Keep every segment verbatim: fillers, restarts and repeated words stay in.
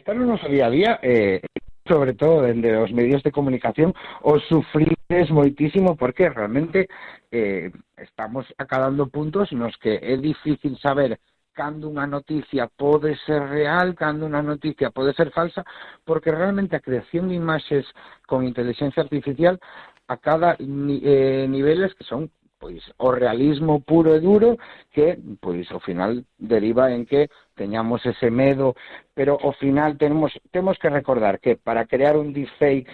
Está no noso día a día, eh, sobre todo dende os medios de comunicación, os sufrides moitísimo porque realmente eh, estamos acadando puntos nos que é difícil saber cando unha noticia pode ser real, cando unha noticia pode ser falsa, porque realmente a creación de imaxes con inteligencia artificial a cada ni, eh, niveles que son pois o realismo puro e duro que pois ao final deriva en que teñamos ese medo, pero ao final temos temos que recordar que para crear un deepfake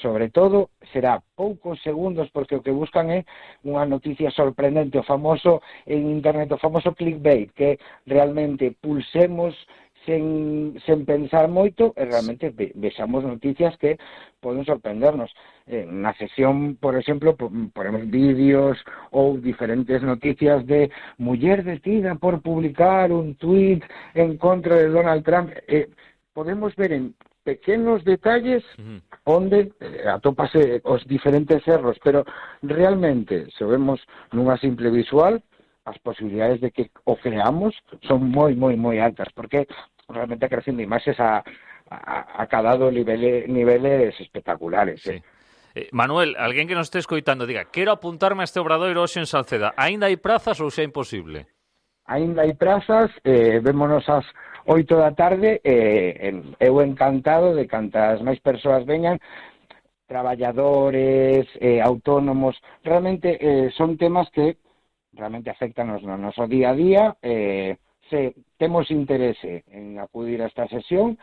sobre todo será poucos segundos porque o que buscan é unha noticia sorprendente, o famoso en internet, o famoso clickbait, que realmente pulsemos sen, sen pensar moito e realmente ve, vexamos noticias que poden sorprendernos. Eh, na sesión, por exemplo, ponemos vídeos ou diferentes noticias de muller detida por publicar un tuit en contra de Donald Trump. Eh, podemos ver en pequenos detalles uh-huh. onde eh, atópase os diferentes erros, pero realmente, se vemos nunha simple visual, as posibilidades de que o creamos son moi, moi, moi altas, porque realmente a creación de imaxes a, a, a cadado nivele, niveles espectaculares. Sí. Eh. Eh, Manuel, alguén que nos este escoitando diga, quero apuntarme a este obradoiro hoxe en Salceda, aínda hai prazas ou xa é imposible? Aínda hai prazas, eh, vémonos ás oito da tarde, eh, eu encantado de cantas máis persoas veñan, traballadores, eh, autónomos, realmente eh, son temas que realmente afectan no noso día a día, eh, se temos interese en acudir a esta sesión,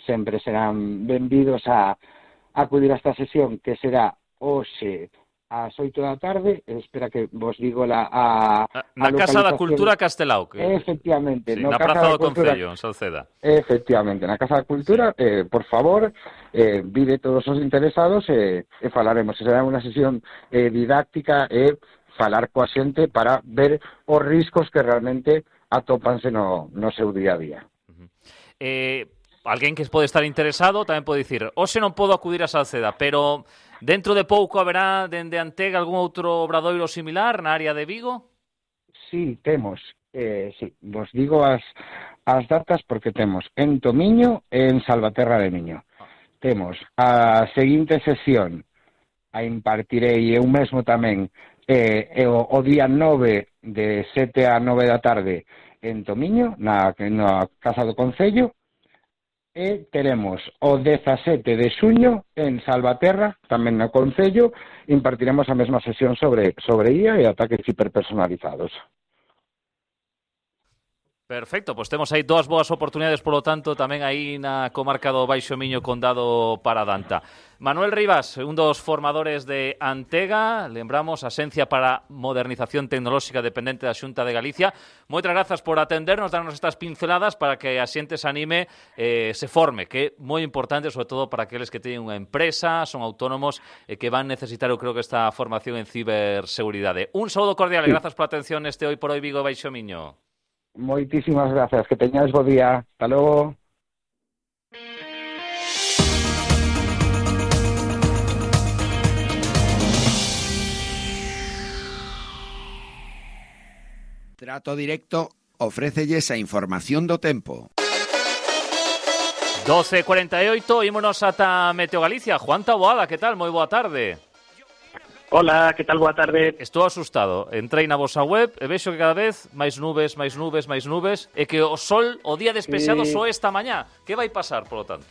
sempre serán benvidos a, a acudir a esta sesión que será hoxe ás oito da tarde, espera que vos digo la, a, a na Casa da Cultura Castelao. Que... Efectivamente. Sí, no na Casa Praza da do Cultura... Concello, en Salceda. Efectivamente, na Casa da Cultura, sí. eh, por favor, eh, vide todos os interesados e eh, eh, falaremos. Será unha sesión eh, didáctica e eh, falar coa xente para ver os riscos que realmente atópanse no, no seu día a día. Uh-huh. Eh, alguén que pode estar interesado tamén pode dicir, hoxe non podo acudir a Salceda, pero dentro de pouco haberá dende Antega algún outro obradoiro similar na área de Vigo? Sí, temos. Eh, sí, vos digo as, as datas porque temos en Tomiño e en Salvaterra de Miño. Ah. Temos a seguinte sesión a impartirei eu mesmo tamén eh, o, o día nove de sete a nove da tarde en Tomiño, na, na Casa do Concello, e teremos o dezasete de xuño en Salvaterra, tamén no Concello, impartiremos a mesma sesión sobre, sobre I A e ataques hiperpersonalizados. Perfecto, pois temos aí dúas boas oportunidades, polo tanto, tamén aí na comarca do Baixo Miño, Condado Paradanta. Manuel Rivas, un dos formadores de Antega, lembramos, Axencia para Modernización Tecnolóxica dependente da Xunta de Galicia. Moitas grazas por atendernos, darnos estas pinceladas para que a xente se anime, eh, se forme, que é moi importante, sobre todo para aqueles que teñen unha empresa, son autónomos e eh, que van necesitar, eu creo que esta formación en ciberseguridade. Un saúdo cordial e grazas pola atención neste Hoy por Hoy Vigo Baixo Miño. Moitísimas grazas, que teñades bo día. Hasta logo. Trato Directo ofrécelles a información do tempo. doce e cuarenta e oito, ímonos ata Meteo Galicia. Juan Taboada, que tal? Moi boa tarde. Hola, que tal? Boa tarde. Estou asustado. Entrei na vosa web e vexo que cada vez máis nubes, máis nubes, máis nubes, e que o sol, o día despexado, sí. Só esta mañá. Que vai pasar, polo tanto?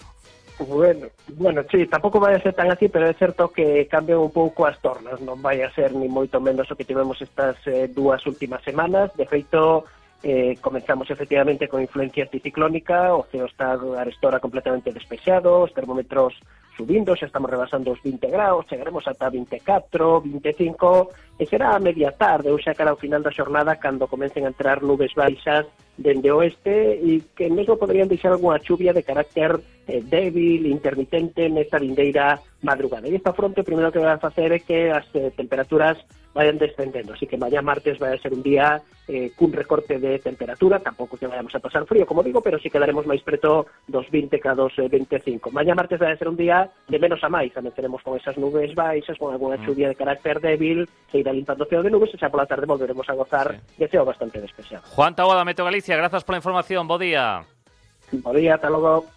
Bueno, bueno, sí, tampouco vai a ser tan así, pero é certo que cambian un pouco as tornas. Non vai a ser ni moito menos o que tivemos estas eh, dúas últimas semanas. De feito, eh, comenzamos efectivamente con influencia anticiclónica, o ceo está arestora completamente despexado, os termómetros subindo, xa estamos rebasando os vinte graus, chegaremos ata vinte e catro, vinte e cinco, e será a media tarde, ou xa cara ao final da xornada, cando comecen a entrar nubes baixas dende oeste e que mesmo poderían deixar algunha chuvia de carácter eh, débil, intermitente nesta vindeira madrugada. E esta fronte o primeiro que vai a facer é que as eh, temperaturas vayan descendendo, así que mañá martes vai a ser un día eh, cun recorte de temperatura, tampouco que vayamos a pasar frío, como digo, pero sí quedaremos máis preto dos vinte que dos vinte e cinco. Mañá martes vai a ser un día de menos a máis, amenceremos con esas nubes baixas, con alguna chuvia de carácter débil, se irá limpando o ceo de nubes e xa pola tarde volveremos a gozar sí. de ceo bastante despexado. Juan Taboada, Meteo Galicia, grazas pola información, bo día. Bo día, ata logo.